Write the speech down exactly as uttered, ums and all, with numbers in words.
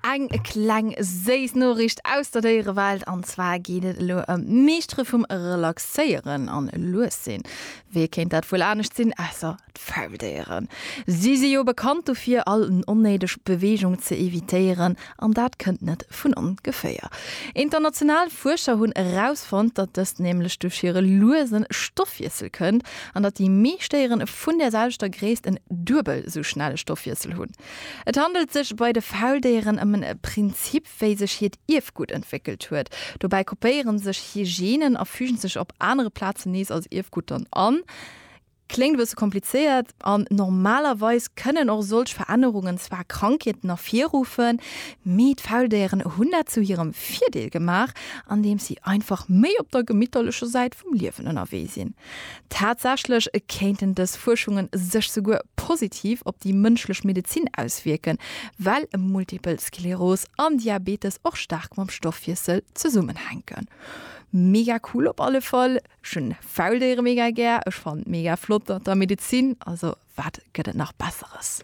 Eng kleng séiss Noriicht aus der Déierewelt, an zwar geet et elo ëm d'Meeschtere vum Relaxéieren an lues sinn. Wee kéint dat wuel anescht sinn, ausser d'Fauldéieren. Si si jo bekannt dofir, all onnéideg Beweegung ze evitéieren, an dat kënnt net vun ongeféier. International Fuerscher hunn erausfonnt, datt dëst nämlech duerch hire luese Stoffwiessel kënnt, an datt déi meescht Déieren vun der selwechter Gréisst en duebel esou schnelle Stoffwiessel hunn. Et handelt sech bei de Fauldéieren ëm en Prinzip, wéi sech hiert Ierfgutt entwéckelt huet. Dobäi kopéieren sech hir Genen a fügen sech op anere Plazen nees als Ierfgutt dann an. Kléngt e bësse komplizéiert an normalerweis kënnen och solch Verännerungen zwar Krankheeten ervirruffen, mee d'Fauldéieren hunn dat zu hirem Virdeel gemaach, andeems si einfach méi op der gemitterlecher Säit vum Liewen ënnerwee sinn. Tatsächlech kéinten dës Fuerschunge sech souguer positiv op déi mënschlech Medezin auswierken, well Multipel Skleros an Diabetes och staark mam Stoffwiessel zesummenhänken. Mega cool op alle Fall, ech hunn Fauldéiere mega gär, ech fannen et mega flott an der Medezin, also wat gëtt et nach besseres.